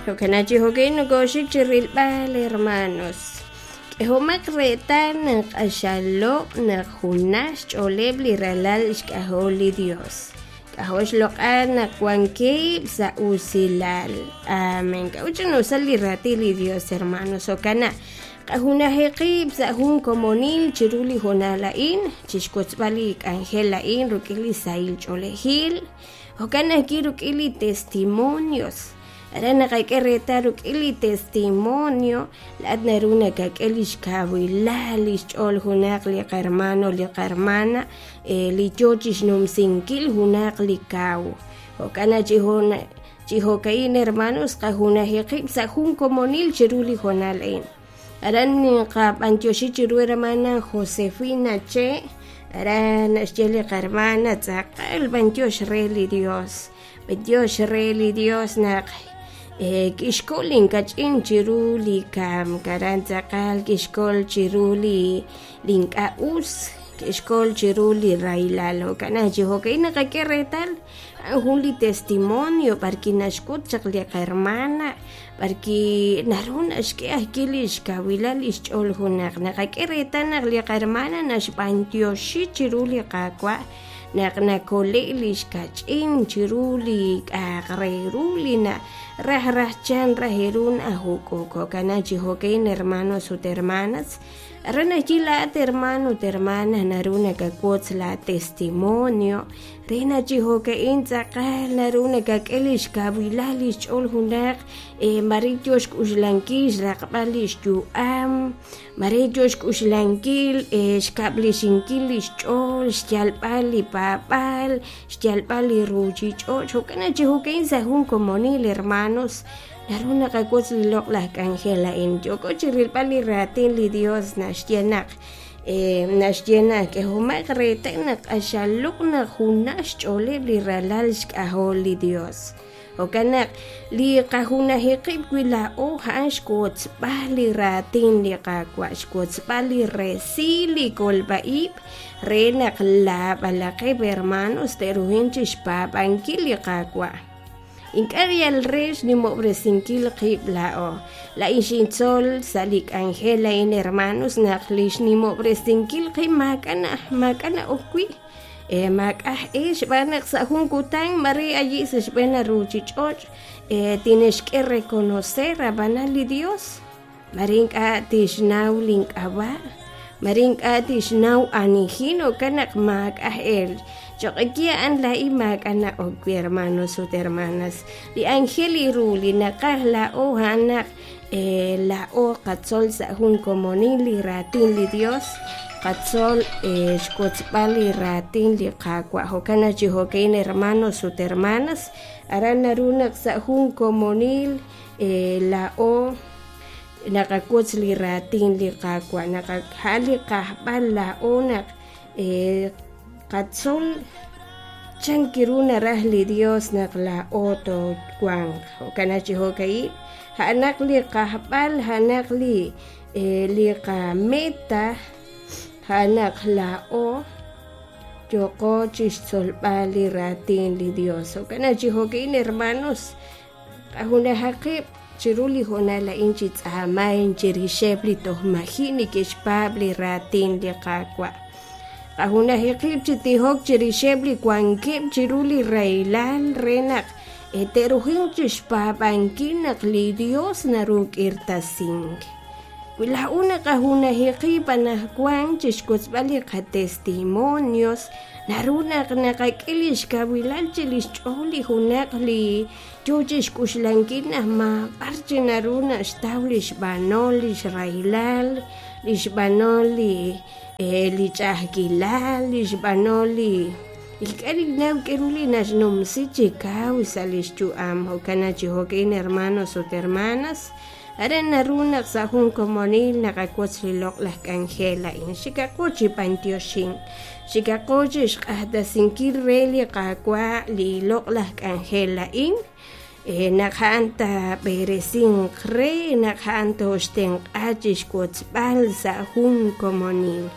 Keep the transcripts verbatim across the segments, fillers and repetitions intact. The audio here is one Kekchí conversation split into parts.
Jo'kan chi jo'ka'in nokooxik chi rilb'al, hermanos. K'ehomaq reetal naq q'axal loq' naq junaj xch'ooleb' li ralal xk'ajol li Dios. K'ajo' xloq'al naq wankeb' sa' usilal. Amén. K'a'ut ch'ina'usal li raatin li Dios, hermanos. Jo'kan naq qajunaji qib' sa' jun komonil chiru li hoonal a'in, chixwotzb'al li k'anjel a'in rik'in li sahil ch'oolejil. Jo'kan ajwi' rik'in li testimonios. Aran naqak'e reetal rik'in li testimonio laa'at naru nakak'e li xkawilal li xch'ool junaq li qahermano li qahermana li yoo chixnumsinkil junaq li kaw. Jo'kan naq chi jun- chi jo'ka'in, hermanos, qajunaji qib' sa' jun komonil chiru li hoonal a'in. Aran niqab'antioxi chiru hermana Josefina Che. Aran naxye li qahermana tz'aqal b'antiox re li Dios. B'antiox re li Dios naq kixkol inkach'in chiru li kamk. Aran tz'aqal kixkol chiru li li ink'a' us, kixkol chiru li rahilal. Jo'kan naq chi jo'ka'in naqak'e reetal a'an jun li testimonio b'arwi' naxk'ut chaq li qahermana b'arwi' naru naxk'e ajwi' li xkawilal li xch'ool junaq. Naqak'e reetal naq li qahermana naxb'antioxi chiru li Qaawa' naq nakole' li xkach'in chiru li k'a'aq re ru li na raj raj chan raj ru najuk'uk. Jo'kan naq chi jo'ka'in, hermanos ut hermanas, aran ajwi' laa'at hermano ut hermana naru nakawotz la testimonio re naq chi jo'ka'in tz'aqal naru nakak'e li xkawilal li xch'ool junaq mare yoo xk'uxlankil xraqb'al li xyu'am, mare yoo xk'uxlankil xkab'lexinkil li xch'ool, xyalb'al li paab'aal, xyalb'al li ruuchich'och'. Jo'kan naq chi jo'ka'in sa' jun komonil, hermanos, naru naqawotz li loq'laj k'anjel a'in. Yooko chi rilb'al li raatin li Dios naxye naq naxye naq k'ehomaq reetal naq q'axal loq' naq junaj xch'ooleb' li ralal xk'ajol li Dios. Jo'kan naq li qajunaji qib' wi' laa'o a'an xwotzb'al li raatin li Qaawa', xwotzb'al li resil li kolb'a-ib' re naq laab'alaqeb', hermanos, te'ruhin chixpaab'ankil li Qaawa'. Ink'a' yal re xnimob'resinkil qib' laa'o. Laa'in xintzol sa' li k'anjel a'in, hermanos, naq li xnimob'resinkil qib' maak'a' maak'a' na'ok wi'. Maak'a' e xb'aan naq sa' jun kutan mare ayi' sa' xb'een ruuchich'och' tinexk'e reconocer ab'anan li Dios. Mare ink'a' tixnaw link'ab'a', mare ink'a' tixnaw anijin. Jo'kan naq maak'a' el. Choq'eki a'an laa'in maak'a' na'ok wi', hermanos ut hermanas. Li ángel ru li naqaj laa'o a'an naq laa'o qatzol sa' jun komonil li raatin li Dios, qatzol xwotzb'al li raatin li Qaawa'. Jo'kan naq chi jo'ka'in, hermanos ut hermanas, aran naru naq sa' jun komonil laa'o naqawotz li raatin li Qaawa'. Naqajal li qajb'al laa'o naq qatzol chan kiru naraj li Dios naq laa'o toowanq. Jo'kan naq chi jo'ka'in a'anaq li qajb'al, a'anaq li li qameta, a'anaq laa'o yooko chixtzolb'al li raatin li Dios. Jo'kan naq chi jo'ka'in, hermanos, qajunajaq qib' chiru li hoonal a'in chi tz'aamayn chirixeb' li toj maji' neke'xpaab' li raatin li Qaawa'. Qajunaji qib' chi tijok chirixeb' li wankeb' chiru li rahilal re naq te'rujinq chixpaab'ankil naq li Dios naru k'irtasink. Wi laa'o naqajunaji qib' anaqwan chixwotzb'al li qatestimonios, naru naq naqak'e li xkawilal chi li xch'ool li junaq li yoo chixk'uxlankil naq maab'ar chi naru naxtaw li xb'anol li xrahilal, li xb'anol li li ch'a'ajkilal, li xb'anol li ink'a' ninnaw k'aru li naxnumsi chi kaw sa' li xyu'am. Jo'kan naq chi jo'ka'in, hermanos ut hermanas, aran naru naq sa' jun komonil naqawotz li loq'laj k'anjel a'in. Xikaqo chi b'antioxin, xikaqo chi xq'axtesinkil re li Qaawa' li loq'laj k'anjel a'in. Naq a'an taab'eresinq re, naq a'an tooxtenq'a chixwotzb'al sa' jun komonil.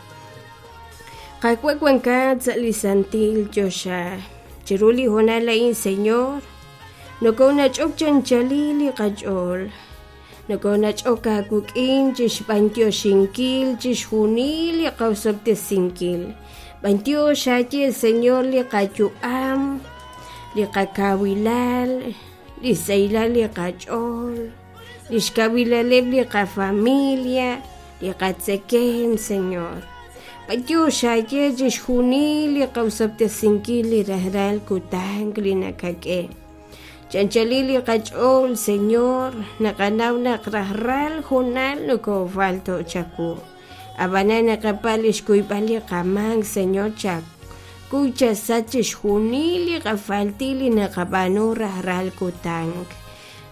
Qaawa' wankat sa' li santil choxa. Chiru li hoonal a'in, Señor, Nokonach'ok chanchalil li qach'ool. Nokonach'ok aawik'in chixb'antioxinkil chixjunil li qawsob'tesinkil. B'antiox aaye Señor li qayu'am, li qakawilal, li saylal li qach'ool, li xkawilaleb' li qafamilia, li qatzekem, Señor. B'antiox aaye chixjunil li qawsob'tesinkil li rajlal kutan li nakak'e. Chanchalil li qach'ool, Señor, naqanaw naq rajlal junal nokofalto chawu. Ab'anan naqapa' li xkuyb'al li qamaak, Señor, chakuy chasach chixjunil li qafaltil li naqab'aanu rajlal kutan.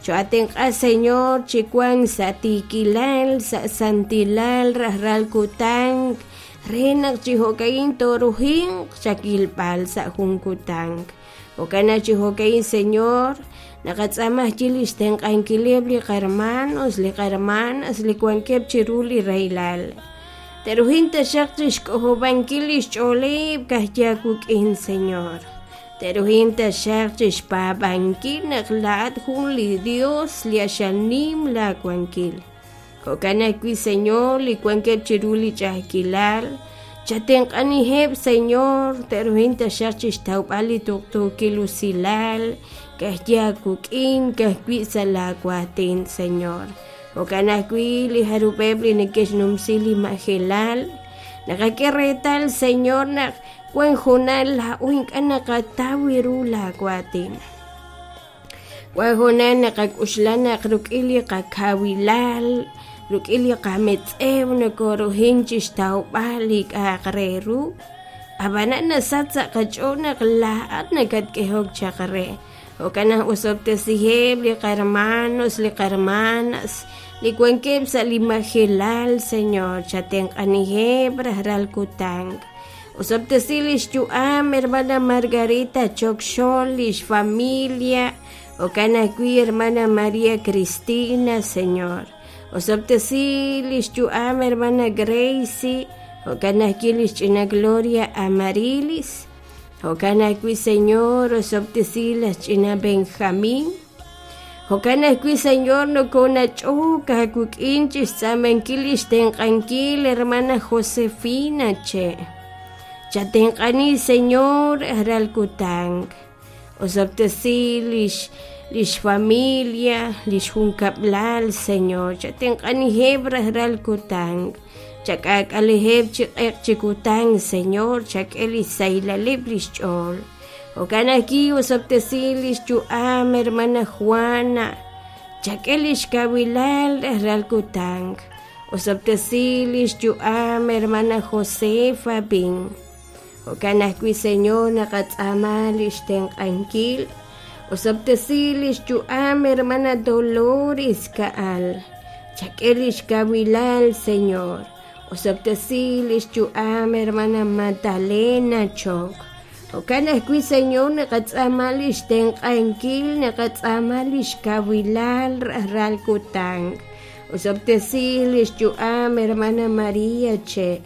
Cho'atenq'a, Señor, chiwan sa' tiikilal, sa' santilal rajlal kutan, re naq chijo'kain torujinq chakilb'al sa' jun kutan. Jo'kan chijo'kain, Señor, naqatz'amaj chi li xtenq'ankileb' li qarmanos, li qarmanas, li wankeb' chiru li raylal. Terujin taxaq chixk'ojob'ankil li xch'ooleb' kajyawuk'in, Señor. Terujin taxaq chixpaab'ankil naq laa'at jun li Dios li axanim laawankil. Jo'kan ajwi', Señor, li wankeb' chiru li ch'a'ajkilal, chatenq'aniheb', Señor, terujin taxaq chixtawb'al li tuqtuukil usilal, kajyawuk'in, kajwi' sa' laawatin, Señor. Jo'kan ajwi' li jarub'eb' li neke'xnumsi li majelal, naqak'e reetal, Señor, naq wan junal laa'o ink'a' naqataw ru laawatin. Wan junal naqak'uxla naq ruk'in li qakawilal, ruk'in li qametz'ew nokorujin chixtawb'al li k'a'aq re ru. Ab'anan nasach sa' qach'ool naq laa'at nakatk'ehok chaq re. Jo'kan naq osob'tesiheb' li qarmanos, li qarmanas, li wankeb' sa' li majelal, Señor, chatenq'aniheb' rajlal kutan. Osob'tesi li xyu'am, hermana Margarita Chokxol, li xfamilia, jo'kan ajwi' hermana María Cristina, Señor. Osob'tesi li xyu'am, hermana Gracie, jo'kan ajwi' li xch'ina Gloria Amarilis. Jo'kan ajwi', Señor, osob'tesi la xch'ina Benjamín. Jo'kan ajwi', Señor, nokonach'ok aawik'in chixtz'amankil li xtenq'ankil, hermana Josefina Che. Chatenq'ani, Señor, rajlal kutan. Osob'tesi lix lix familia, lix junkab'lal, Señor. Chatenq'aniheb' rajlal kutan. Chak'ak'aliheb' chi q'eq chi kutan, Señor, chak'e li saylaleb' lix ch'ool. Jo'kan ajwi' osob'tesi lix yu'am, hermana Juana. Chak'e lix kawilal rajlal kutan. Osob'tesi lix yu'am, hermana Josefa Bin. Jo'kan ajwi', Señor, naqatz'aama lix tenq'ankil. Osob'tesi lix yu'am, hermana Dolores Ka'al. Chak'e lix kawilal, Señor. Osob'tesi lix yu'am, hermana Magdalena Chok. Jo'kan ajwi', Señor, naqatz'aama lix tenq'ankil, naqatz'aama lix kawilal rajlal kutan. Osob'tesi lix yu'am, hermana María Che.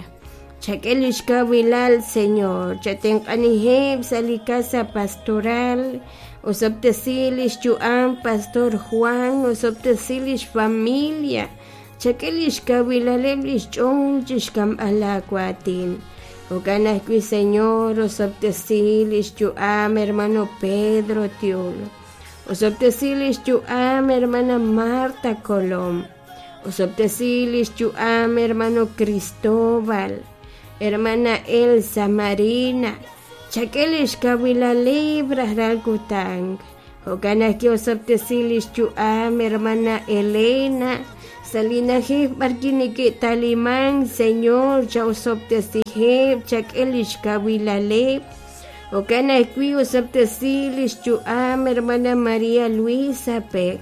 Chak'e lix kawilal, Señor. Chatenq'aniheb' sa' li casa pastoral. Osob'tesi lix yu'am, Pastor Juan. Osob'tesi lix familia. Chak'e lix kawilaleb' lix ch'ool chixk'amb'al laawatin. Jo'kan ajwi', Señor, osob'tesi lix yu'am, hermano Pedro Tiul. Osob'tesi lix yu'am, hermana Marta Colom. Osob'tesi lix yu'am, hermano Cristóbal. Hermana Elsa Marina. Chak'e lix kawilaleb' rajlal kutan. Jo'kan ajwi' osob'tesi lix yu'am, hermana Elena. Salinajej b'arki neke'taliman, Señor, cha'osob'tesiheb', chak'e lix kawilaleb'. Jo'kan ajwi' osob'tesi lix yu'am, hermana María Luisa Peck.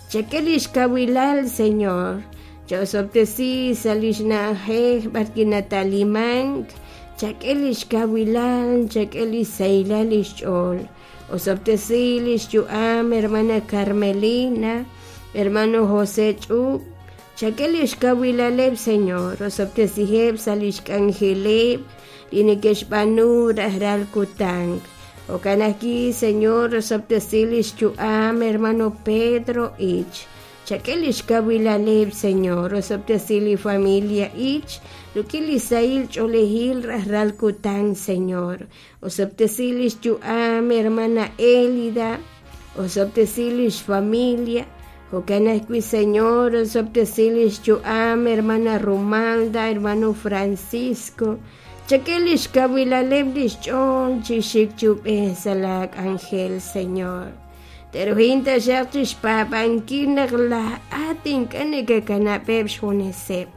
Chak'e lix kawilal, Señor. Cha'osob'tesi sa' lix na'ajej b'arki nataliman. Chak'e lix kawilal, chak'e lix saylal lix ch'ool. Osob'tesi lix yu'am, hermana Carmelina, hermano José Ch'ub. Chak'e lix kawilaleb', Señor. Osob'tesiheb' sa' lix k'anjeleb' li neke'xb'aanu rajlal kutan. Jo'kan ajwi', Señor, osob'tesi lix yu'am hermano Pedro Ich. Chak'e lix kawilaleb', Señor, osob'tesi li familia Ich, rik'in li sahil ch'oolejil rajlal kutan, Señor. Osob'tesi lix yu'am hermana Elida, osob'tesi lix familia. Jo'kan ajwi', Señor, osob'tesi lix yu'am hermana Romalda, hermano Francisco. Chak'e lix kawilaleb' lix ch'ool chi xik chi ub'ej sa' la k'anjel, Señor. Teruhin taxaq chixpaab'ankil naq laa'at ink'a' nakakanab'eb' xjuneseb'.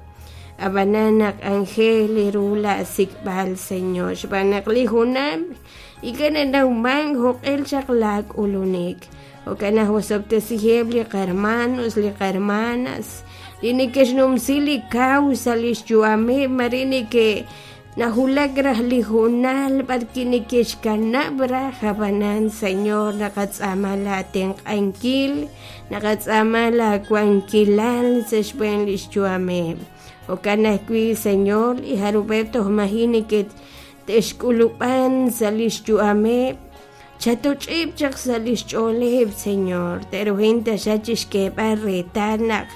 Ab'anan naq anjel ru laasik'b'al, Señor, xb'aan naq li junam ink'a' nanawman jo'q'el chaq laak'ulunik. Jo'kan naq osob'tesiheb' li qarmanos, li qarmanas, li neke'xnumsi li kaw sa' lix yu'ameb' mare neke' najulak raj li junal b'arki neke'xkanab' raj ab'anan, Señor, naqatz'aama laatenq'ankil, naqatz'aama laawankilal sa' xb'een lix yu'ameb'. Jo'kan ajwi', Señor, li jarub'eb' toj maji' neke' te'xk'ulub'an sa' lix yu'ameb', chatoch'ib' chaq sa' lix ch'ooleb', Señor, teruhin taxaq chixk'eeb'al reetal naq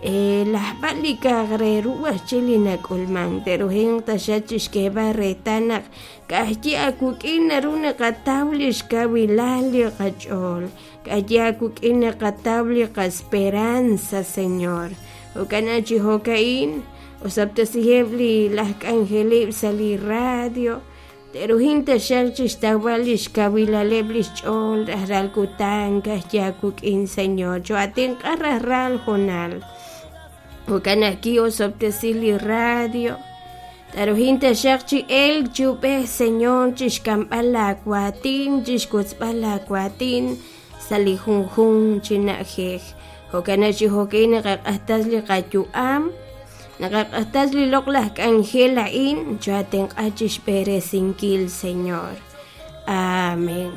laj b'al li ka'aj re ru ajchi li nak'ulman, teruhin taxaq chixk'eeb'al reetal naq ka'ajyi awuk'in naru naqataw lix kawilal li qach'ool, ka'ajyi awuk'in naqataw li qasperanza, Señor. Jo'kan chi jo'ka'in, osob'tesiheb' li laj k'anjelib' sa' li radio, teruhin taxaq chixtawb'al lix kawilaleb' lix ch'ool rajlal kutan ka'ajyi awuk'in, Señor, cho'atenq'a rajlal jonal. Jo'kan ajwi' osob'tesi li radio, taruhin taxaq chi elk chi ub'ej, Señor, chixk'amb'al laawatin, chixkotzb'al laawatin sa' li junjun chi na'ajej. Jo'kan chi jo'ka'in naqaq'ajtas li qayu'am, naqaq'ajtas li loq'laj k'anjel a'in, cho'atenq'a chixb'eresinkil, Señor. Amén.